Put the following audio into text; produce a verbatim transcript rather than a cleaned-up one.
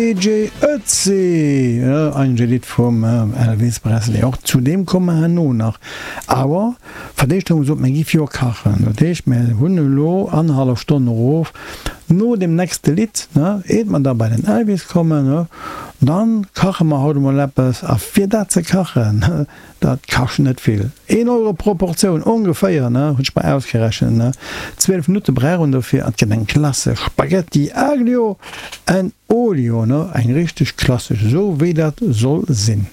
J J Ötzi, eigentlech e Lidd vum Elvis Presley. Och zu deem komme mer herno nach. Awer fir d'éischt hu mer gesot, mir gi fir kachen. Dat heescht, mir hunn elo annerhallef Stonn erof no deem nächste Lidd, eet mer da bei den Elvis kommen, dann kache mer haut emol eppes. A fir dat ze kachen, dat kascht net vill, een Euro pro Portioun ongeféier, hunn ech mer ausgerechent. Zwielef Minutte brauch een dofir an et gëtt eng klassesch Spaghetti aglio en olio, eng richteg klassesch, esou wéi dat soll sinn.